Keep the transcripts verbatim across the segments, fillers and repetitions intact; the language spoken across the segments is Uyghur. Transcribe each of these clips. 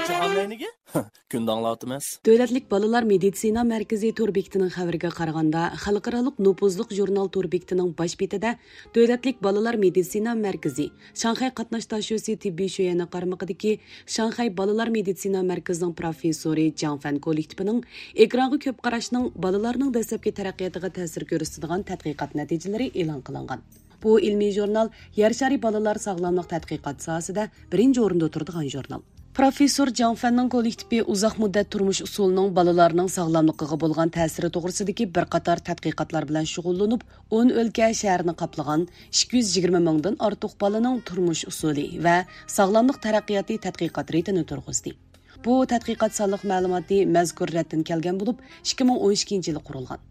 جاھان نەينىگە؟ كۈندە ئاڭلاۋاتىمىز. دۆلەتلىك بالىلار مېدىتسىنا مەركىزى تور بېكىتىنىڭ خەۋىرىگە قارىغاندا، خەلقئارالىق نوپۇزلۇق ژۇرنال تور بېكىتىنىڭ باش بېتىدە دۆلەتلىك بالىلار مېدىتسىنا مەركىزى، شاڭخەي قاتناش داشۆسى تېببىي شۆيۈەنى قارمىقىدىكى شاڭخەي بالىلار مېدىتسىنا مەركىزىنىڭ پروفېسسورى جاڭ فەن كوللېكتىپىنىڭ ئېكرانغا كۆپ قاراشنىڭ بالىلارنىڭ دەسلەپكى تەرەققىياتىغا تەسىر كۆرسىتىدىغان تەتقىقات نەتىجىلىرى ئېلان قىلىنغان. بۇ ئىلمىي ژۇرنال يەر شارى بالىلار ساغلاملىق تەتقىقات ساھەسىدە بىرىنچى ئورۇندا تۇرىدىغان ژۇرنال. پروفېسسور جاڭ فەننىڭ كوللېكتىپى ئۇزاق مۇددەت تۇرمۇش ئۇسۇلىنىڭ بالىلارنىڭ ساغلاملىقىغا بولغان تەسىرى توغرىسىدىكى بىر قاتار تەتقىقاتلار بىلەن شۇغۇللىنىپ، ئون ئۆلكە شەھەرنى قاپلىغان ئىككى يۈز يىگىرمە مىڭدىن ئارتۇق بالىنىڭ تۇرمۇش ئۇسۇلى ۋە ساغلاملىق تەرەققىياتى تەتقىقات رېتىنى تۇرغۇزدى. بۇ تەتقىقات سانلىق مەلۇماتى مەزكۇر رەتتىن كەلگەن بولۇپ، ئىككى مىڭ ئون ئىككىنچى يىلى قۇرۇلغان.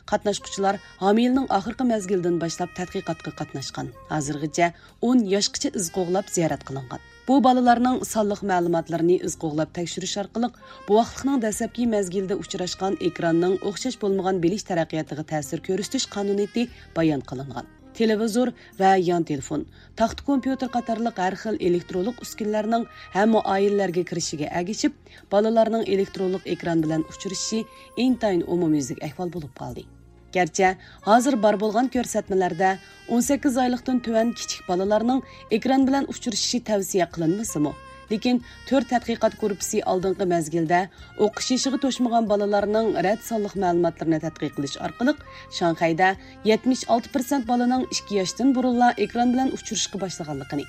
قاتناشقۇچىلار ھامىلىنىڭ ئاخىرقى مەزگىلىدىن باشلاپ تەتقىقاتقا قاتناشقان. ھازىرغىچە ئون ياشقىچە ئىز قوغلاپ زىيارەت قىلىنغان. بۇ بالىلارنىڭ سانلىق مەلۇماتلىرىنى ئىز قوغلاپ تەكشۈرۈش ئارقىلىق، بوۋاقلىقنىڭ دەسلەپكى مەزگىلىدە ئۇچراشقان ئېكراننىڭ ئوخشاش بولمىغان بىلىش تەرەققىياتىغا تەسىر كۆرسىتىش قانۇنىيىتى بايان قىلىنغان. تېلېۋىزور ۋە يان تېلېفون، تاختا كومپيۇتېر قاتارلىق ھەر خىل ئېلېكترونلۇق ئۈسكۈنىلەرنىڭ ھەممە ئائىلىلەرگە كىرىشىگە ئەگىشىپ، بالىلارنىڭ ئېلېكترونلۇق ئېكران بىلەن ئۇچرىشىشى ئىنتايىن ئومۇميۈزلۈك ئەھۋال بولۇپ قالدى. گەرچە ھازىر بار بولغان كۆرسەتمىلەردە ئون سەككىز ئايلىقتىن تۆۋەن كىچىك بالىلارنىڭ ئېكران بىلەن ئۇچرىشىشى تەۋسىيە قىلىنمىسىمۇ، لېكىن تۆر تەتقىقات گۇرۇپپىسى ئالدىنقى مەزگىلدە ئوقۇش يېشىغا توشمىغان بالىلارنىڭ رەت سانلىق مەلۇماتلىرىنى تەتقىق قىلىش ئارقىلىق، شاڭخەيدە يەتمىش ئالتە پىرسەنت بالىنىڭ ئىككى ياشتىن بۇرۇنلا ئېكران بىلەن ئۇچرىشىشقا باشلىغانلىقىنى،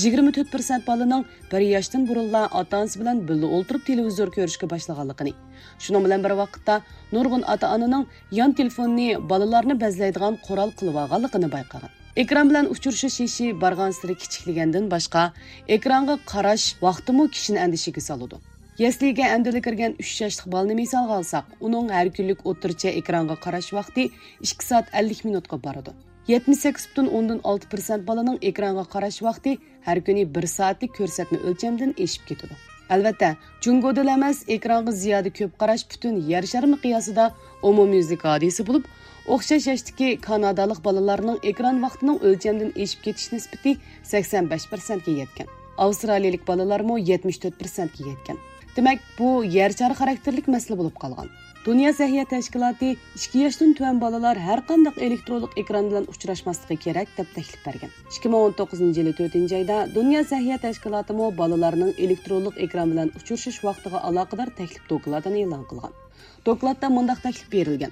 يىگىرمە تۆت پىرسەنت بالىنىڭ بىر ياشتىن بۇرۇنلا ئاتا-ئانىسى بىلەن بىللە ئولتۇرۇپ تېلېۋىزور كۆرۈشكە باشلىغانلىقىنى، شۇنىڭ بىلەن بىر ۋاقىتتا نۇرغۇن ئاتا-ئانىنىڭ يان تېلېفوننى بالىلارنى بەزلەيدىغان قورال قىلىۋالغانلىقىنى بايقىغان. ئېكران بىلەن ئۇچرىشىش يېشى بارغانسېرى كىچىكلىگەندىن باشقا، ئېكرانغا قاراش ۋاقتىمۇ كىشىنى ئەندىشىگە سالىدۇ. يەسلىگە ئەمدىلا كىرگەن ئۈچ ياشلىق بالىنى مىسالغا ئالساق، ئۇنىڭ ھەر كۈنلۈك ئوتتۇرىچە ئېكرانغا قاراش ۋاقتى ئىككى سائەت ئەللىك مىنۇتقا بارىدۇ. يەتمىش سەككىز پۈتۈن ئوندىن ئالتە پىرسەنت بالىنىڭ ئېكرانغا قاراش ۋاقتى ھەر كۈنى بىر سائەتلىك كۆرسەتمە ئۆلچەمدىن ئېشىپ كېتىدۇ. ئەلۋەتتە، جۇڭگودىلا ئەمەس، ئېكرانغا زىيادە كۆپ قاراش پۈتۈن يەر شارى مىقياسىدا ئومۇميۈزلۈك ھادىسە بولۇپ، ئوخشاش ياشتىكى كانادالىق بالىلارنىڭ ئېكران ۋاقتىنىڭ ئۆلچەمدىن ئېشىپ كېتىش نىسبىتى سەكسەن بەش پىرسەنتكە يەتكەن. ئاۋسترالىيىلىك بالىلارمۇ يەتمىش تۆت پىرسەنتكە يەتكەن. دېمەك، بۇ يەر شارى خاراكتېرلىك مەسىلە بولۇپ قالغان. دۇنيا سەھىيە تەشكىلاتى ئىككى ياشتىن تۆۋەن بالىلار ھەر قانداق ئېلېكترونلۇق ئېكران بىلەن ئۇچراشماسلىقى كېرەك، دەپ تەكلىپ بەرگەن. ئىككى مىڭ ئون توققۇزىنچى يىلى تۆتىنچى ئايدا دۇنيا سەھىيە تەشكىلاتىمۇ بالىلارنىڭ ئېلېكترونلۇق ئېكران بىلەن ئۇچرىشىش ۋاقتىغا ئالاقىدار تەكلىپ دوكلاتىنى ئېلان قىلغان. دوكلاتتا مۇنداق تەكلىپ بېرىلگەن: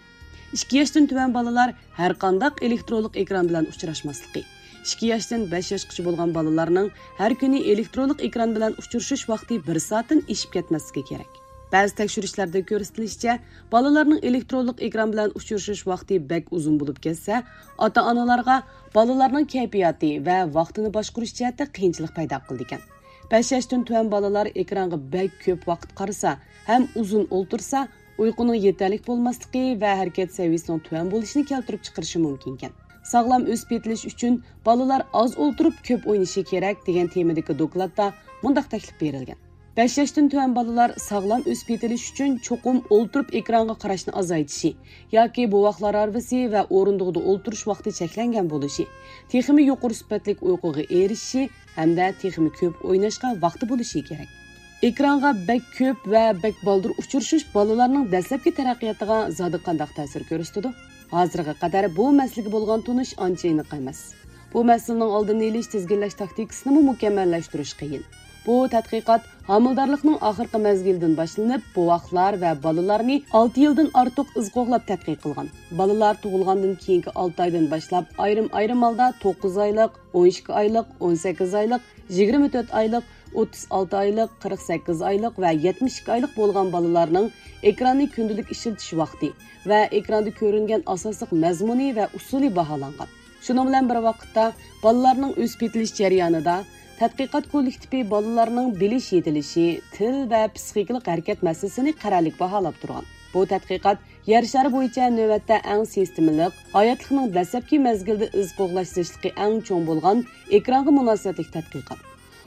ئىككى ياشتىن تۆۋەن بالىلار ھەر قانداق ئېلېكترونلۇق ئېكران بىلەن ئۇچراشماسلىقى، ئىككى ياشتىن بەش ياشقىچە بولغان بالىلارنىڭ ھەر كۈنى ئېلېكترونلۇق ئېكران بىلەن ئۇچرىشىش ۋاقتى بىر سائەتتىن ئېشىپ كەتمەسلىكى كېرەك. بەزى تەكشۈرۈشلەردە كۆرسىتىلىشىچە، بالىلارنىڭ ئېلېكترونلۇق ئېكران بىلەن ئۇچرىشىش ۋاقتى بەك ئۇزۇن بولۇپ كەتسە، ئاتا-ئانىلارغا بالىلارنىڭ كەيپىياتى ۋە ۋاقتىنى باشقۇرۇش جەھەتتە قىيىنچىلىق پەيدا قىلىدىكەن. بەش ياشتىن تۆۋەن بالىلار ئېكرانغا بەك كۆپ ۋاقىت قارىسا ھەم ئۇزۇن ئولتۇرسا، ئۇيقۇنىڭ يېتەرلىك بولماسلىقى ۋە ھەرىكەت سەۋىيىسىنىڭ تۆۋەن بولۇشىنى كەلتۈرۈپ چىقىرىشى مۇمكىنكەن. ساغلام ئۆسۈپ يېتىلىش ئۈچۈن بالىلار ئاز ئولتۇرۇپ كۆپ ئوينىشى كېرەك، دېگەن تېمىدىكى دوكلاتتا مۇنداق تەكلىپ بېرىلگەن: بەش ياشتىن تۆۋەن بالىلار ساغلام ئۆسۈپ يېتىلىش ئۈچۈن چوقۇم ئولتۇرۇپ ئېكرانغا قاراشنى ئازايتىشى ياكى بوۋاقلار ھارۋىسى ۋە ئورۇندۇقىدا ئولتۇرۇش ۋاقتى چەكلەنگەن بولۇشى، تېخىمۇ يۇقىرى سۈپەتلىك ئۇيقۇغا ئېرىشىشى ھەمدە تېخىمۇ كۆپ ئويناشقا ۋاقتى بولۇشى كېرەك. ئېكرانغا بەك كۆپ ۋە بەك بالدۇر ئۇچرىشىش بالىلارنىڭ دەسلەپكى تەرەققىياتىغا زادى قانداق تەسىر كۆرسىتىدۇ؟ ھازىرغا قەدەر بۇ مەسىلىگە بولغان تونۇش ئانچە ئېنىق ئەمەس. بۇ مەسىلىنىڭ ئالدىنى ئېلىش، تىزگىنلەش تاكتىكىسىنىمۇ مۇكەممەللەشتۈرۈش قىيىن. بۇ تەتقىقات ھامىلىدارلىقنىڭ ئاخىرقى مەزگىلىدىن باشلىنىپ، بوۋاقلار ۋە بالىلارنى ئالتە يىلدىن ئارتۇق ئىز قوغلاپ تەتقىق قىلغان. بالىلار تۇغۇلغاندىن كېيىنكى ئالتە ئايدىن باشلاپ ئايرىم-ئايرىم ھالدا توققۇز ئايلىق، ئون ئىككى ئايلىق، ئون سەككىز ئايلىق، يىگىرمە تۆت ئايلىق، ئوتتۇز ئالتە ئايلىق، قىرىق سەككىز ئايلىق ۋە يەتمىش ئىككى ئايلىق بولغان بالىلارنىڭ ئېكراننى كۈندىلىك ئىشلىتىش ۋاقتى ۋە ئېكراندا كۆرۈنگەن ئاساسلىق مەزمۇنى ۋە ئۇسۇلى باھالانغان. شۇنىڭ بىلەن بىر ۋاقىتتا، بالىلارنىڭ ئۆسۈپ يېتىلىش جەريانىدا تەتقىقات كوللېكتىپى بالىلارنىڭ بىلىش يېتىلىشى، تىل ۋە پسىخىكىلىق ھەرىكەت مەسىلىسىنى قەرەللىك باھالاپ تۇرغان. بۇ تەتقىقات يەر شارى بويىچە نۆۋەتتە ئەڭ سىستېمىلىق، ھاياتلىقنىڭ دەسلەپكى مەزگىلىدە ئىز قوغلاش زىچلىقى ئەڭ چوڭ بولغان ئېكرانغا مۇناسىۋەتلىك تەتقىقات.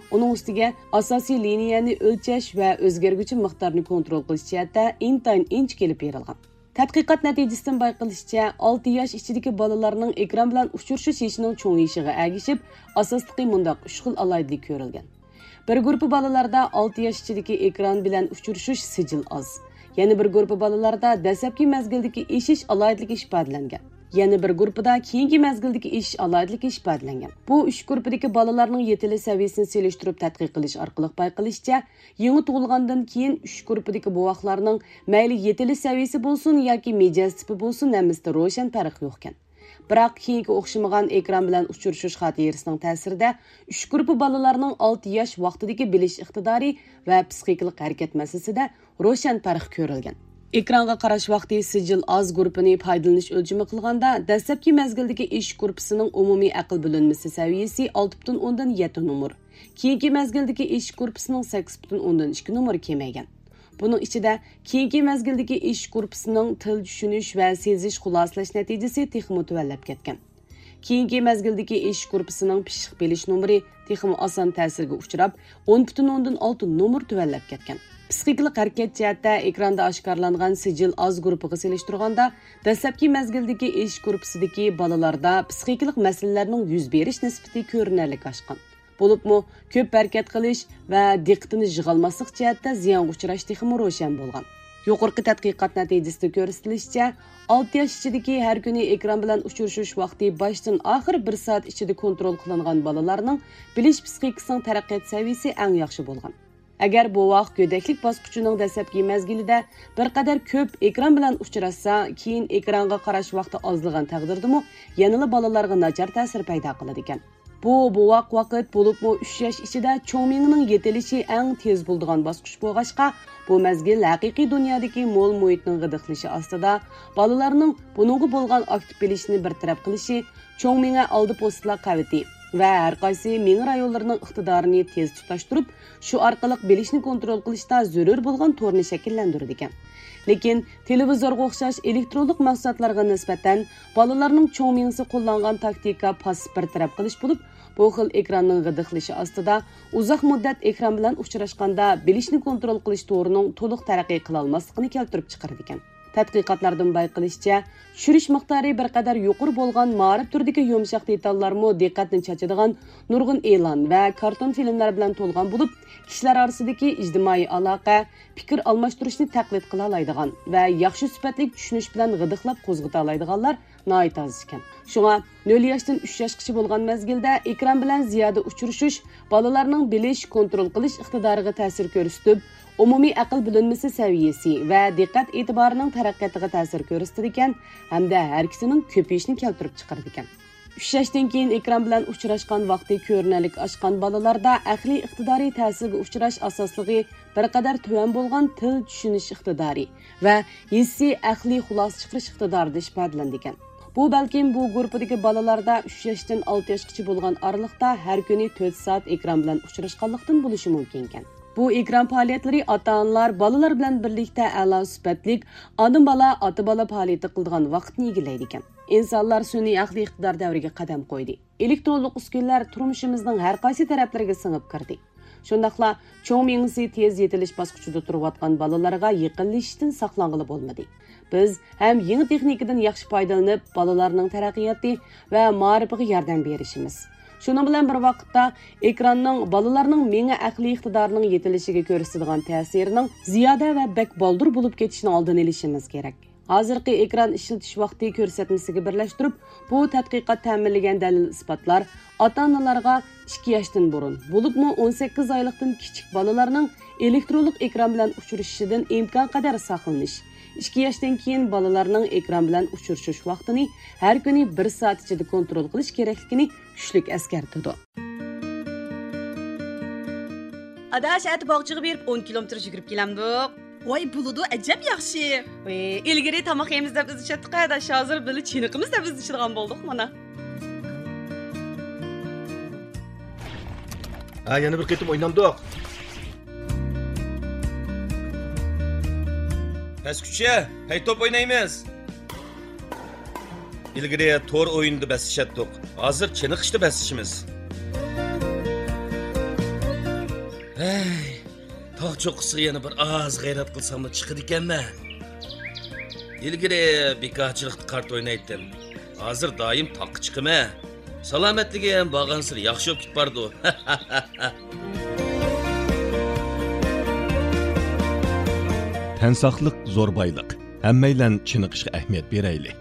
ئۇنىڭ ئۈستىگە ئاساسىي لىنىيەنى ئۆلچەش ۋە ئۆزگەرگۈچى مىقدارنى كونترول قىلىش جەھەتتە ئىنتايىن ئىنچىكە ئېلىپ بېرىلغان. تەتقىقات نەتىجىسىدىن بايقىلىشىچە، ئالتە ياش ئىچىدىكى بالىلارنىڭ ئېكران بىلەن ئۇچرىشىش يېشىنىڭ چوڭىيىشىغا ئەگىشىپ، ئاساسلىقى مۇنداق ئۈچ خىل ئالاھىدىلىك كۆرۈلگەن. بىر گۇرۇپپا بالىلاردا ئالتە ياش ئىچىدىكى ئېكران بىلەن ئۇچرىشىش سىجىل ئاز. يەنە بىر گۇرۇپپا بالىلاردا دەسلەپكى مەزگىلدىكى ئېشىش ئالاھىدىلىكى ئىپادىلەنگەن. يەنە بىر گۇرۇپپىدا كېيىنكى مەزگىلدىكى ئېشىش ئالاھىدىلىكى ئىپادىلەنگەن. بۇ ئۈچ گۇرۇپپىدىكى بالىلارنىڭ يېتىلىش سەۋىيەسىنى سېلىشتۇرۇپ تەتقىق قىلىش ئارقىلىق بايقىلىشىچە، يېڭى تۇغۇلغاندىن كېيىن ئۈچ گۇرۇپپىدىكى بوۋاقلارنىڭ مەيلى يېتىلىش سەۋىيەسى بولسۇن ياكى مىجەز تىپى بولسۇن، ھەممىسىدە روشەن پەرق يوقكەن. بىراق كېيىنكى ئوخشىمىغان ئېكران بىلەن ئۇچرىشىش خاتىرىسىنىڭ تەسىرىدە، ئۈچ گۇرۇپپا بالىلارنىڭ ئالتە ياش ۋاقتىدىكى بىلىش ئىقتىدارى ۋە پسىخىكىلىق ھەرىكەت مەسىلىسىدە روشەن پەرق كۆرۈلگەن. ئېكرانغا قاراش ۋاقتى سىجىل ئاز گۇرۇپپىنى پايدىلىنىش ئۆلچىمى قىلغاندا، دەسلەپكى مەزگىلدىكى ئېشىش گۇرۇپپىسىنىڭ ئومۇمىي ئەقىل بۆلۈنمىسى سەۋىيەسى ئالتە پۈتۈن ئوندىن يەتتە نومۇر، كېيىنكى مەزگىلدىكى ئېشىش گۇرۇپپىسىنىڭ سەككىز پۈتۈن ئوندىن ئىككى نومۇر كېمەيگەن. بۇنىڭ ئىچىدە، كېيىنكى مەزگىلدىكى ئېشىش گۇرۇپپىسىنىڭ تىل چۈشىنىش ۋە سېزىش خۇلاسىلەش نەتىجىسى تېخىمۇ تۆۋەنلەپ كەتكەن. كېيىنكى مەزگىلدىكى ئېشىش گۇرۇپپىسىنىڭ پىششىق بىلىش نومۇرى تېخىمۇ ئاسان تەسىرگە ئۇچراپ، ئون پۈتۈن ئوندىن ئالتە نومۇر تۆۋەنلەپ كەتكەن. پسىخىكىلىق ھەرىكەت جەھەتتە ئېكراندا ئاشكارىلانغان سىجىل ئاز گۇرۇپپىغا سېلىشتۇرغاندا، دەسلەپكى مەزگىلدىكى ئېشىش گۇرۇپپىسىدىكى بالىلاردا پسىخىكىلىق مەسىلىلەرنىڭ يۈز بېرىش نىسبىتى كۆرۈنەرلىك ئاشقان. بولۇپمۇ كۆپ ھەرىكەت قىلىش ۋە دىققىتىنى يىغالماسلىق جەھەتتە زىيانغا ئۇچراش تېخىمۇ روشەن بولغان. يۇقىرىقى تەتقىقات نەتىجىسىدە كۆرسىتىلىشىچە، ئالتە ياش ئىچىدىكى ھەر كۈنى ئېكران بىلەن ئۇچرىشىش ۋاقتى باشتىن ئاخىر بىر سائەت ئىچىدە كونترول قىلىنغان بالىلارنىڭ بىلىش پسىخىكىسىنىڭ تەرەققىيات سەۋىيىسى ئەڭ ياخشى بولغان. ئەگەر بوۋاق گۆدەكلىك باسقۇچىنىڭ دەسلەپكى مەزگىلىدە بىر قەدەر كۆپ ئېكران بىلەن ئۇچراشسا، كېيىن ئېكرانغا قاراش ۋاقتى ئازلىغان تەقدىردىمۇ يەنىلا بالىلارغا ناچار تەسىر پەيدا قىلىدىكەن. بۇ بوۋاق ۋاقىت، بولۇپمۇ ئۈچ ياش ئىچىدە چوڭ مېڭىنىڭ يېتىلىشى ئەڭ تېز بولىدىغان باسقۇچ بولغاچقا، بۇ مەزگىل ھەقىقىي دۇنيادىكى مول مۇھىتنىڭ غىدىقلىشى ئاستىدا بالىلارنىڭ بۇنىڭغا بولغان ئاكتىپ بېلىشىنى بىر تەرەپ قىلىشى، چوڭ مېڭە ئالدى پوستىلار قەۋىتى ۋە ھەر قايسى مېڭە رايونلىرىنىڭ ئىقتىدارىنى تېز تۇتاشتۇرۇپ، شۇ ئارقىلىق بىلىشنى كونترول قىلىشتا زۆرۈر بولغان تورنى شەكىللەندۈرىدىكەن. لېكىن تېلېۋىزورغا ئوخشاش ئېلېكترونلۇق مەھسۇلاتلارغا نىسبەتەن بالىلارنىڭ چوڭ مېڭىسى قوللانغان تاكتىكا پاسسىپ بىر تەرەپ قىلىش بولۇپ، بۇ خىل ئېكراننىڭ غىدىقلىشى ئاستىدا ئۇزاق مۇددەت ئېكران بىلەن ئۇچراشقاندا بىلىشنى كونترول قىلىش تورىنىڭ تولۇق تەرەققىي قىلالماسلىقىنى كەلتۈرۈپ چىقىرىدىكەن. تەتقىقاتلاردىن بايقىلىشىچە، چۈشۈرۈش مىقدارى بىر قەدەر يۇقىرى بولغان مائارىپ تۈرىدىكى يۇمشاق دېتاللارمۇ دىققەتنى چاچىدىغان نۇرغۇن ئېلان ۋە كارتون فىلىملار بىلەن تولغان بولۇپ، كىشىلەر ئارىسىدىكى ئىجتىمائىي ئالاقە، پىكىر ئالماشتۇرۇشنى تەقلىد قىلالايدىغان ۋە ياخشى سۈپەتلىك چۈشىنىش بىلەن غىدىقلاپ قوزغىتالايدىغانلار ناھايىتى ئاز ئىكەن. شۇڭا نۆل ياشتىن ئۈچ ياشقىچە بولغان مەزگىلدە ئېكران بىلەن زىيادە ئۇچرىشىش بالىلارنىڭ بىلىش، كونترول قىلىش ئىقتىدارىغا تەسىر كۆرسىتىپ، ئومۇمىي ئەقىل بۆلۈنمىسى سەۋىيەسى ۋە دىققەت ئېتىبارىنىڭ تەرەققىياتىغا تەسىر كۆرسىتىدىكەن ھەمدە ھەرىكىتىنىڭ كۆپىيىشىنى كەلتۈرۈپ چىقىرىدىكەن. ئۈچ ياشتىن كېيىن ئېكران بىلەن ئۇچراشقان ۋاقتى كۆرۈنەرلىك ئاشقان بالىلاردا ئەقلىي ئىقتىدارى تەسىرگە ئۇچراش ئاساسلىقى بىر قەدەر تۆۋەن بولغان تىل چۈشىنىش ئىقتىدارى ۋە ھېسسىي ئەقلىي خۇلاسە چىقىرىش ئىقتىدارىدا ئىپادىلىنىدىكەن. بۇ بەلكىم بۇ گۇرۇپپىدىكى بالىلاردا ئۈچ ياشتىن ئالتە ياشقىچە بولغان ئارىلىقتا ھەر كۈنى تۆت سائەت ئېكران بىلەن ئۇچراشقانلىقتىن بولۇشى مۇمكىنكەن. بۇ ئېكران پائالىيەتلىرى ئاتا-ئانىلار بالىلار بىلەن بىرلىكتە ئەلا سۈپەتلىك ئانا-بالا، ئاتا-بالا پائالىيىتى قىلىدىغان ۋاقىتنى ئىگىلەيدىكەن. ئىنسانلار سۈنئىي ئەقلىي ئىقتىدار دەۋرىگە قەدەم قويدى. ئېلېكترونلۇق ئۈسكۈنىلەر تۇرمۇشىمىزنىڭ ھەر قايسى تەرەپلىرىگە سىڭىپ كىردى. شۇنداقلا چوڭ مېڭىسى تېز يېتىلىش باسقۇچىدا تۇرۇۋاتقان بالىلارغا يېقىنلىشىشتىن ساقلانغىلى بولمىدى. بىز ھەم يېڭى تېخنىكىدىن ياخشى پايدىلىنىپ، بالىلارنىڭ تەرەققىياتى ۋە مائارىپىغا ياردەم بېرىشىمىز. شۇنىڭ بىلەن بىر ۋاقىتتا، ئېكراننىڭ بالىلارنىڭ مېڭە ئەقلىي ئىقتىدارىنىڭ يېتىلىشىگە كۆرسىتىدىغان تەسىرىنىڭ زىيادە ۋە بەك بالدۇر بولۇپ كېتىشىنىڭ ئالدىنى ئېلىشىمىز كېرەك. ھازىرقى ئېكران ئىشلىتىش ۋاقتى كۆرسەتمىسىگە بىرلەشتۈرۈپ، بۇ تەتقىقات تەمىنلىگەن دەلىل-ئىسپاتلار ئاتا-ئانىلارغا ئىككى ياشتىن بۇرۇن، بولۇپمۇ ئون سەككىز ئايلىقتىن كىچىك بالىلارنىڭ ئېلېكترونلۇق ئېكران بىلەن ئۇچرىشىشىدىن ئىمكانقەدەر ساقلىنىش، ئىككى ياشتىن كېيىن بالىلارنىڭ ئېكران بىلەن ئۇچرىشىش ۋاقتىنى ھەر كۈنى بىر سائەت ئىچىدە كونترول قىلىش كېرەكلىكىنى كۈچلۈك ئەسكەرتىدۇ. ئاداش، ئەتە باغچىغا بېرىپ ئون كىلومېتىر يۈگۈرۈپ كېلەمدۇق؟ ۋاي، بولىدۇ، ئەجەب ياخشى. ۋاي، ئىلگىرى تاماق يەيمىز دەپ ئىزدىشەتتۇق ئاداش، ھازىر بىللە چېنىقىمىز دەپ ئىزدىشىدىغان بولدۇق مانا. ھە، يەنە بىر قېتىم ئوينامدۇق. پەسكۈچە، پەي توپ ئوينايمىز. ئىلگىرى تور ئويۇنىدا بەسلىشەتتۇق. ھازىر چېنىقىشتا بەسلىشىمىز. ھەي، تاغ چوققىسىغا يەنە بىر ئاز غەيرەت قىلساملا چىقىدىكەنمەن. ئىلگىرى بىكارچىلىقتا قارت ئوينايتتىم. ھازىر دائىم تاغقا چىقىمەن. سالامەتلىكىم بارغانسېرى ياخشى بولۇپ كېتىپ بارىدۇ. تەن ساقلىق زور بايلىق. ھەممەيلەن چېنىقىشقا ئەھمىيەت بېرەيلى.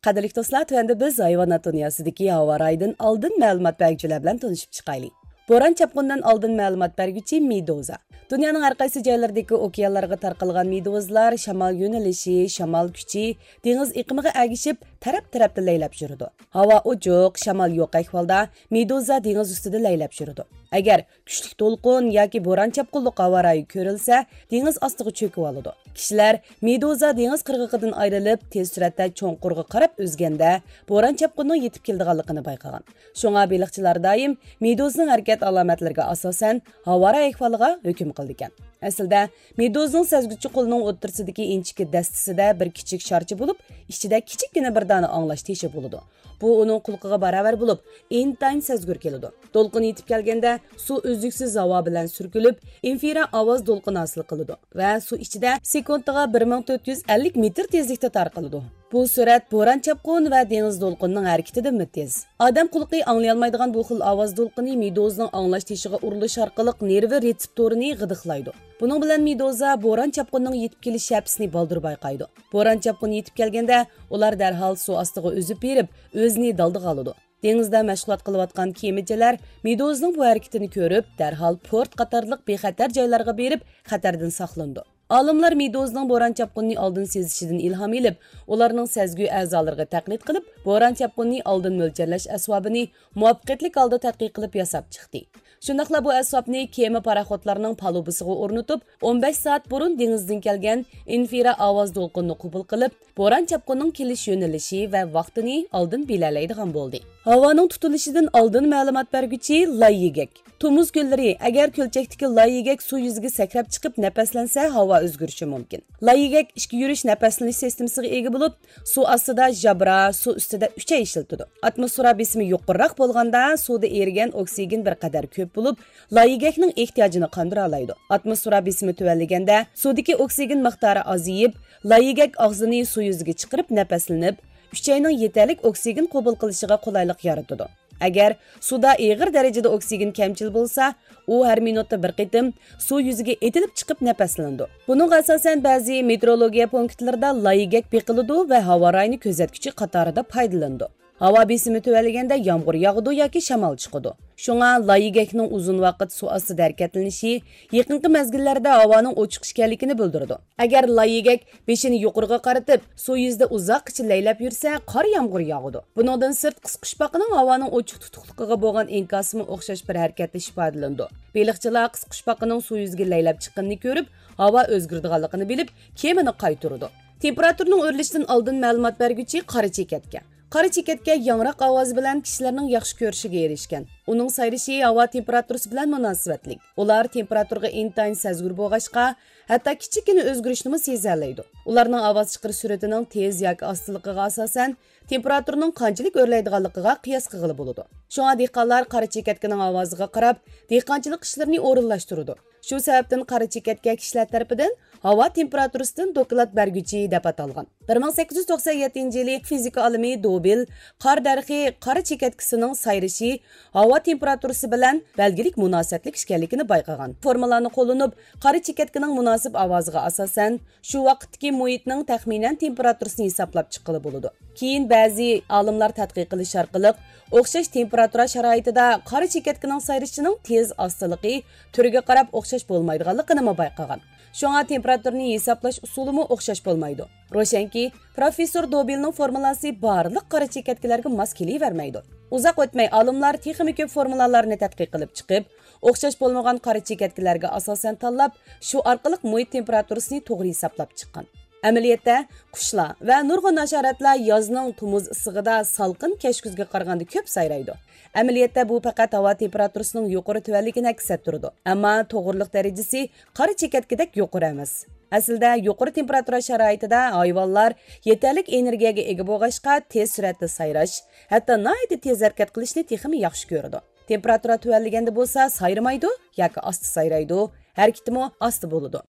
قەدىرلىك دوستلار، تۆۋەندە بىز ھايۋانات دۇنياسىدىكى ھاۋا رايىدىن ئالدىن مەلۇمات بەرگۈچىلەر بىلەن تونۇشۇپ چىقايلى. بوران چاپقۇنىدىن ئالدىن مەلۇمات بەرگۈچى مېدۇزا. دۇنيانىڭ ھەر قايسى جايلىرىدىكى ئوكيانلارغا تارقالغان مېدۇزىلار شامال يۆنىلىشى، شامال كۈچى، دېڭىز ئېقىمىغا ئەگىشىپ تەرەپ-تەرەپتە لەيلەپ يۈرىدۇ. ھاۋا ئوچۇق، شامال يوق ئەھۋالدا مېدۇزا دېڭىز ئۈستىدە لەيلەپ يۈرىدۇ. ئەگەر كۈچلۈك دولقۇن ياكى بوران چاپقۇنلۇق ھاۋا رايى كۆرۈلسە، دېڭىز ئاستىغا چۆكۈۋالىدۇ. كىشىلەر مېدۇزا دېڭىز قىرغىقىدىن ئايرىلىپ، تېز سۈرئەتتە چوڭقۇرغا قاراپ ئۈزگەندە، بوران چاپقۇننىڭ يېتىپ كېلىدىغانلىقىنى بايقىغان. شۇڭا بېلىقچىلار دائىم مېدۇزىنىڭ ھەرىكەت ئالامەتلىرىگە ئاساسەن ھاۋا رايى ئەھۋالىغا ھۆكۈم قىلىدىكەن. ئەسلىدە، مېدۇزىنىڭ سەزگۈچى قولىنىڭ ئوتتۇرىسىدىكى ئىنچىكە دەستىسىدە بىر كىچىك شارچە بولۇپ، ئىچىدە كىچىككىنە بىر دانە ئاڭلاش تېشى بولىدۇ. بۇ ئۇنىڭ قۇلىقىغا باراۋەر بولۇپ، ئىنتايىن سەزگۈر كېلىدۇ. دولقۇن يېتىپ كەلگەندە، سۇ ئۈزلۈكسىز ھاۋا بىلەن سۈركىلىپ، ئىنفىرا ئاۋاز دولقۇنى ھاسىل قىلىدۇ ۋە سۇ ئىچىدە سېكۇنتىغا بىر مىڭ تۆت يۈز ئەللىك مېتىر تېزلىكتە تارقىلىدۇ. بۇ سۈرئەت بوران چاپقۇن ۋە دېڭىز دولقۇنىنىڭ ھەرىكىتىدىنمۇ تېز. ئادەم قۇلىقى ئاڭلىيالمايدىغان بۇ خىل ئاۋاز دولقۇنى مېدۇزىنىڭ ئاڭلاش تېشىغا ئۇرۇلۇش ئارقىلىق نېرۋا رېتسېپتورىنى غىدىقلايدۇ. بۇنىڭ بىلەن مېدۇزا بوران چاپقۇنىنىڭ يېتىپ كېلىش شەپىسىنى بالدۇر بايقايدۇ. بوران چاپقۇنى يېتىپ كەلگەندە، ئۇلار دەرھال سۇ ئاستىغا ئۈزۈپ بېرىپ، ئۆزىنى دالدىغا ئالىدۇ. دېڭىزدا مەشغۇلات قىلىۋاتقان كېمىچىلەر مېدۇزىنىڭ بۇ ھەرىكىتىنى كۆرۈپ، دەرھال پورت قاتارلىق بىخەتەر جايلارغا بېرىپ، خەتەردىن ساقلىنىدۇ. ئالىملار مېدۇزىنىڭ بوران چاپقۇنىنى ئالدىن سېزىشىدىن ئىلھام ئېلىپ، ئۇلارنىڭ سەزگۈ ئەزالىرىغا تەقلىد قىلىپ، بوران چاپقۇنىنى ئالدىن مۆلچەرلەش ئەسۋابىنى مۇۋەپپەقىيەتلىك ھالدا تەتقىق قىلىپ ياساپ چىقتى. شۇنداقلا بۇ ئەسۋابنى كېمە پاراخوتلارنىڭ پالۇبىسىغا ئورنىتىپ، ئون بەش سائەت بۇرۇن دېڭىزدىن كەلگەن ئىنفىرا ئاۋاز دولقۇنىنى قوبۇل قىلىپ، بوران چاپقۇنىنىڭ كېلىش يۆنىلىشى ۋە ۋاقتىنى ئالدىن بىلەلەيدىغان بولدى. ھاۋانىڭ تۇتۇلۇشىدىن ئالدىن مەلۇمات بەرگۈچى لاي يىگەك. تومۇز كۈنلىرى ئەگەر كۆلچەكتىكى لاي يىگەك سۇ يۈزىگە سەكرەپ چىقىپ نەپەسلەنسە، ھاۋا ئۆزگىرىشى مۇمكىن. لاي يىگەك ئىچكى يۈرۈش نەپەسلىنىش سىستېمىسىغا ئىگە بولۇپ، سۇ ئاستىدا ژابرا، سۇ ئۈستىدە ئۈچەي ئىشلىتىدۇ. ئاتموسفېرا بېسىمى يۇقىرىراق بولغاندا، سۇدا ئېرىگەن ئوكسىگېن بىر قەدەر كۆپ بولۇپ، لاي يىگەكنىڭ ئېھتىياجىنى قاندۇرالايدۇ. ئاتموسفېرا بېسىمى تۆۋەنلىگەندە، سۇدىكى ئوكسىگېن مىقدارى ئازىيىپ، لاي يىگەك ئاغزىنى سۇ يۈزىگە چىقىرىپ نەپەسلىنىپ، ئۈچەينىڭ يېتەرلىك ئوكسىگېن قوبۇل قىلىشىغا قولايلىق يارىتىدۇ. ئەگەر سۇدا ئېغىر دەرىجىدە ئوكسىگېن كەمچىل بولسا، ئۇ ھەر مىنۇتتا بىر قېتىم سۇ يۈزىگە ئېتىلىپ چىقىپ نەپەسلىنىدۇ. بۇنىڭغا ئاساسەن بەزى مېتېئورولوگىيە پونكىتلىرىدا لاي يىگەك بېقىلىدۇ ۋە ھاۋا رايىنى كۆزەتكۈچى قاتارىدا پايدىلىنىدۇ. ھاۋا بېسىمى تۆۋەنلىگەندە يامغۇر ياغىدۇ ياكى شامال چىقىدۇ. شۇڭا لاي يىگەكنىڭ ئۇزۇن ۋاقىت سۇ ئاستىدا ھەرىكەتلىنىشى يېقىنقى مەزگىللەردە ھاۋانىڭ ئوچۇق ئىكەنلىكىنى بىلدۈرىدۇ. ئەگەر لاي يىگەك بېشىنى يۇقىرىغا قارىتىپ، سۇ يۈزىدە ئۇزاققىچە لەيلەپ يۈرسە، قار يامغۇر ياغىدۇ. بۇنىڭدىن سىرت، قىسقۇچپاقىنىڭ ھاۋانىڭ ئوچۇق تۇتۇقلۇقىغا بولغان ئىنكاسىمۇ ئوخشاش بىر ھەرىكەتلىشىش ئىپادىلىنىدۇ. بېلىقچىلار قىسقۇچپاقىنىڭ سۇ يۈزىگە لەيلەپ چىققىنىنى كۆرۈپ، ھاۋا ئۆزگىرىدىغانلىقىنى بىلىپ، كېمىنى قايتۇرىدۇ. تېمپېراتۇرىنىڭ ئۆرلىشىدىن ئالدىن مەلۇمات بەرگۈچى قارا چېكەتكە. قارا چېكەتكە ياڭراق ئاۋازى بىلەن كىشىلەرنىڭ ياخشى كۆرۈشىگە ئېرىشكەن. ئۇنىڭ سايرىشى ھاۋا تېمپېراتۇرىسى بىلەن مۇناسىۋەتلىك. ئۇلار تېمپېراتۇرىغا ئىنتايىن سەزگۈر بولغاچقا، ھەتتا كىچىككىنە ئۆزگىرىشنىمۇ سېزەلەيدۇ. ئۇلارنىڭ ئاۋاز چىقىرىش سۈرئىتىنىڭ تېز ياكى ئاستىلىقىغا ئاساسەن، تېمپېراتۇرىنىڭ قانچىلىك ئۆرلەيدىغانلىقىغا قىياس قىلغىلى بولىدۇ. شۇڭا دېھقانلار قارا چېكەتكىنىڭ ئاۋازىغا قاراپ، دېھقانچىلىق ئىشلىرىنى ئورۇنلاشتۇرىدۇ. شۇ سەۋەبتىن قارا چېكەتكە كىشىلەر تەرىپىدىن ھاۋا تېمپېراتۇرىسىدىن دوكلات بەرگۈچى دەپ ئاتالغان. بىر مىڭ سەككىز يۈز توقسەن يەتتىنچى يىلى فىزىكا ئالىمى دوبىل قار دەرىخى قارا چېكەتكىسىنىڭ سايرىشى ھاۋا تېمپېراتۇرىسى بىلەن بەلگىلىك مۇناسىۋەتلىك ئىكەنلىكىنى بايقىغان. فورمۇلانى قوللىنىپ، قارا چېكەتكىنىڭ مۇناسىپ ئاۋازىغا ئاساسەن، شۇ ۋاقىتتىكى مۇھىتنىڭ تەخمىنەن تېمپېراتۇرىسىنى ھېسابلاپ چىققىلى بولىدۇ. كېيىن بەزى ئالىملار تەتقىق قىلىش ئارقىلىق، ئوخشاش تېمپېراتۇرا شارائىتىدا قارا چېكەتكىنىڭ سايرىشىنىڭ تېز ئاستىلىقى تۈرىگە قاراپ ئوخشاش بولمايدىغانلىقىنىمۇ بايقىغان. شۇڭا تېمپېراتۇرىنى ھېسابلاش ئۇسۇلىمۇ ئوخشاش بولمايدۇ. روشەنكى، پروفېسسور دوبىلنىڭ فورمۇلاسى بارلىق قارا چېكەتكىلەرگە ماس كېلىۋەرمەيدۇ. ئۇزاق ئۆتمەي ئالىملار تېخىمۇ كۆپ فورمۇلالارنى تەتقىق قىلىپ چىقىپ، ئوخشاش بولمىغان قارا چېكەتكىلەرگە ئاساسەن تاللاپ، شۇ ئارقىلىق مۇھىت تېمپېراتۇرىسىنى توغرا ھېسابلاپ چىققان. ئەمەلىيەتتە، قۇشلار ۋە نۇرغۇن ھاشاراتلار يازنىڭ تومۇز ئىسسىقىدا سالقىن كەچ كۈزگە قارىغاندا كۆپ سايرايدۇ. ئەمەلىيەتتە، بۇ پەقەت ھاۋا تېمپېراتۇرىسىنىڭ يۇقىرى تۆۋەنلىكىنى ئەكس ئەتتۈرىدۇ. ئەمما توغرىلىق دەرىجىسى قارا چېكەتكىدەك يۇقىرى ئەمەس. ئەسلىدە، يۇقىرى تېمپېراتۇرا شارائىتىدا ھايۋانلار يېتەرلىك ئېنېرگىيەگە ئىگە بولغاچقا، تېز سۈرئەتتە سايراش، ھەتتا ناھايىتى تېز ھەرىكەت قىلىشنى تېخىمۇ ياخشى كۆرىدۇ. تېمپېراتۇرا تۆۋەنلىگەندە بولسا سايرىمايدۇ ياكى ئاستا سايرايدۇ، ھەرىكىتىمۇ ئاستا بولىدۇ.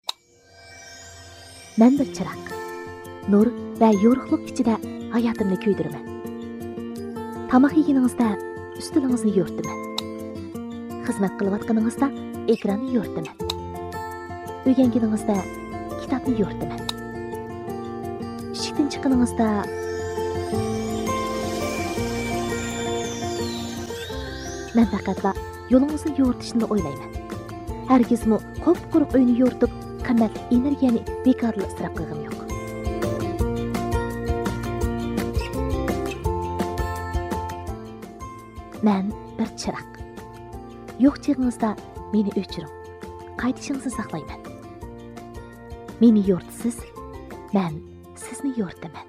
مەن بىر چىراغ. نۇر ۋە يورۇقلۇق ئىچىدە ھاياتىمنى كۆيدۈرىمەن. تاماق يېگىنىڭىزدە ئۈستىلىڭىزنى يورۇتىمەن. خىزمەت قىلىۋاتقىنىڭىزدا ئېكراننى يورۇتىمەن. ئۆگەنگىنىڭىزدە كىتابنى يورۇتىمەن. ئىشىكتىن چىققىنىڭىزدا مەن پەقەتلا يولىڭىزنى يورۇتۇشنىلا ئويلايمەن. ھەرگىزمۇ قۇپقۇرۇق ئۆينى يورۇتۇپ، قىممەتلىك ئېنېرگىيەنى بىكارلا ئىسراپ قىلغىنىم يوق. مەن بىر چىراغ. يوق چېغىڭىزدا مېنى ئۆچۈرۈڭ. قايتىشىڭىزنى ساقلايمەن. مېنى يورۇتىسىز، مەن سىزنى يورۇتىمەن.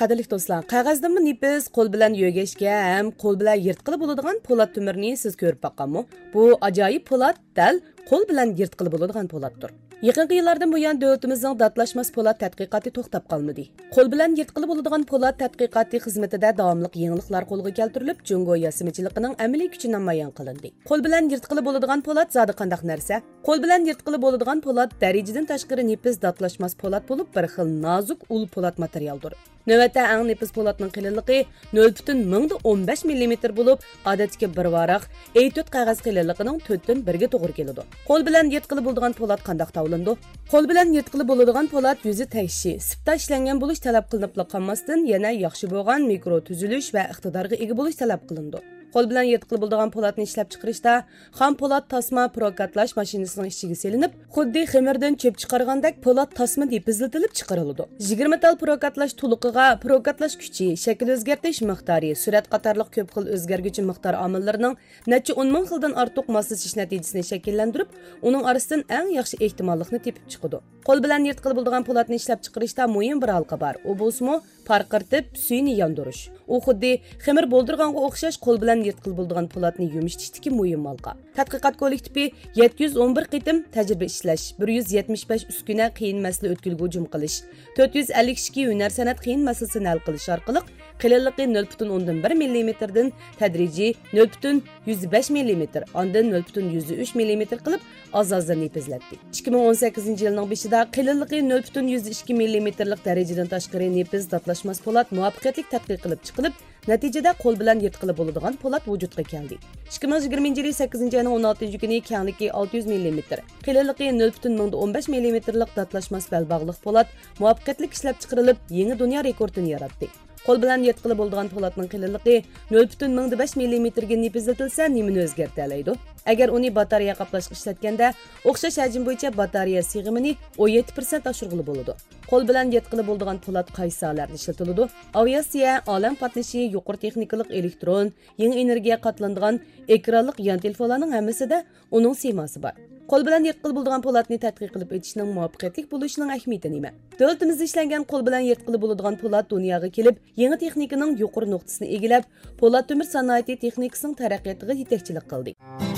قەدىرلىك دوستلار، قەغەزدىنمۇ نېپىز، قول بىلەن يۆگەشكە ھەم قول بىلەن يىرتقىلى بولىدىغان پولات تۆمۈرنى سىز كۆرۈپ باققانمۇ؟ بۇ ئاجايىپ پولات دەل قول بىلەن يىرتقىلى بولىدىغان پولاتتۇر. يېقىنقى يىللاردىن بۇيان، دۆلىتىمىزنىڭ داتلاشماس پولات تەتقىقاتى توختاپ قالمىدى. قول بىلەن يىرتقىلى بولىدىغان پولات تەتقىقاتى خىزمىتىدە داۋاملىق يېڭىلىقلار قولغا كەلتۈرۈلۈپ، جۇڭگو ياسىمىچىلىقىنىڭ ئەمەلىي كۈچى نامايان قىلىندى. قول بىلەن يىرتقىلى بولىدىغان پولات زادى قانداق نەرسە؟ قول بىلەن يىرتقىلى بولىدىغان پولات دەرىجىدىن تاشقىرى نېپىز داتلاشماس پولات بولۇپ، بىر خىل نازۇك ئۇل پولات ماتېرىيالدۇر. نۆۋەتتە ئەڭ نېپىز پولاتنىڭ قېلىنلىقى نۆل پۈتۈن مىڭدا ئون بەش مىللىمېتىر بولۇپ، ئادەتتىكى بىر ۋاراق ئېي تۆت قەغەز قېلىنلىقىنىڭ تۆتتىن بىرىگە توغرا كېلىدۇ. قول بىلەن يىرتقىلى بولىدىغان پولات قانداق تاۋلىنىدۇ؟ قول بىلەن يىرتقىلى بولىدىغان پولات يۈزى تەكشى، سىپتا ئىشلەنگەن بولۇش تەلەپ قىلىنىپلا قالماستىن، يەنە ياخشى بولغان مىكرو تۈزۈلۈش ۋە ئىقتىدارغا ئىگە بولۇش تەلەپ قىلىنىدۇ. قول بىلەن يىرتقىلى بولىدىغان پولاتنى ئىشلەپچىقىرىشتا خام پولات تاسما پروكاتلاش ماشىنىسىنىڭ ئىچىگە سېلىنىپ، خۇددى خېمىردىن چۆپ چىقارغاندەك پولات تاسما نېپىزلىتىلىپ چىقىرىلىدۇ. يىگىرمە تال پروكاتلاش تولۇقىغا پروكاتلاش كۈچى، شەكىل ئۆزگەرتىش مىقدارى، سۈرئەت قاتارلىق كۆپ خىل ئۆزگەرگۈچى مىقدار ئامىللىرىنىڭ نەچچە ئون مىڭ خىلدىن ئارتۇق ماسلىشىش نەتىجىسىنى شەكىللەندۈرۈپ، ئۇنىڭ ئارىسىدىن ئەڭ ياخشى ئېھتىماللىقنى تېپىپ چىقىدۇ. قول بىلەن يىرتقىلى بولىدىغان پولاتنى ئىشلەپچىقىرىشتا مۇھىم بىر ھالقا بار. ئۇ بولسىمۇ پارقىرىتىپ، سۈيىنى ياندۇرۇش. ئۇ خۇددى خېمىر بولدۇرغانغا ئوخشاش قول بىلەن يىرتقىلى بولىدىغان پولاتنى يۇمشىتىشتىكى مۇھىم ھالقا. تەتقىقات كوللېكتىپى يەتتە يۈز ئون بىر قېتىم تەجرىبە ئىشلەش، بىر يۈز يەتمىش بەش ئۈسكۈنە قىيىن مەسىلە ئۆتكىلىگە ھۇجۇم قىلىش، تۆت يۈز ئەللىك ئىككى ھۈنەر سەنئەت قىيىن مەسىلىسىنى ھەل قىلىش ئارقىلىق قېلىنلىقى نۆل پۈتۈن ئوندىن بىر مىللىمېتىردىن تەدرىجىي نۆل پۈتۈن يۈز بەش مىللىمېتىر، ئاندىن نۆل پۈتۈن يۈز ئۈچ مىللىمېتىر قىلىپ، ئاز-ئازدىن نېپىزلەتتى. ئىككى مىڭ ئون سەككىزىنچى يىلنىڭ بېشىدا قېلىنلىقى نۆل پۈتۈن يۈز ئىككى مىللىمېتىرلىق دەرىجىدىن تاشقىرى نېپىز داتلاشماس پولات مۇۋەپپەقىيەتلىك تەتقىق قىلىپ چىقىلىپ، نەتىجىدە قول بىلەن يىرتقىلى بولىدىغان پولات ۋۇجۇدقا كەلدى. ئىككى مىڭ يىگىرمىنچى يىلى سەككىزىنچى ئاينىڭ ئون ئالتىنچى كۈنى كەڭلىكى ئالتە يۈز مىللىمېتىر، قېلىنلىقى نۆل پۈتۈن مىڭدا ئون بەش مىللىمېتىرلىق داتلاشماس بەلباغلىق پولات مۇۋەپپەقىيەتلىك ئىشلەپچىقىرىلىپ، يېڭى دۇنيا رېكورتىنى ياراتتى. قول بىلەن يىرتقىلى بولىدىغان پولاتنىڭ قېلىنلىقى نۆل پۈتۈن مىڭدا بەش مىللىمېتىرگە نېپىزلىتىلسە، نېمىنى ئۆزگەرتەلەيدۇ؟ ئەگەر ئۇنى باتارېيە قاپلاشقا ئىشلەتكەندە، ئوخشاش ھەجىم بويىچە باتارېيە سىغىمىنى ئون يەتتە پىرسەنت ئاشۇرغىلى بولىدۇ. قول بىلەن يىرتقىلى بولىدىغان پولات قايسى ساھەلەردە ئىشلىتىلىدۇ؟ ئاۋىئاتسىيە، ئالەم قاتنىشى، يۇقىرى تېخنىكىلىق ئېلېكترون، يېڭى ئېنېرگىيە قاتلىنىدىغان ئېكرانلىق يان تېلېفونلارنىڭ ھەممىسىدە ئۇنىڭ سىيماسى بار. قول بىلەن يىرتقىلى بولىدىغان پولاتنى تەتقىق قىلىپ ئېچىشنىڭ مۇۋەپپەقىيەتلىك بولۇشىنىڭ ئەھمىيىتى نېمە؟ دۆلىتىمىزدە ئىشلەنگەن قول بىلەن يىرتقىلى بولىدىغان پولات دۇنياغا كېلىپ، يېڭى تېخنىكىنىڭ يۇقىرى نۇقتىسىنى ئىگىلەپ، پولات تۆمۈر سانائىتى تېخنىكىسىنىڭ تەرەققىياتىغا يېتەكچىلىك قىلدى.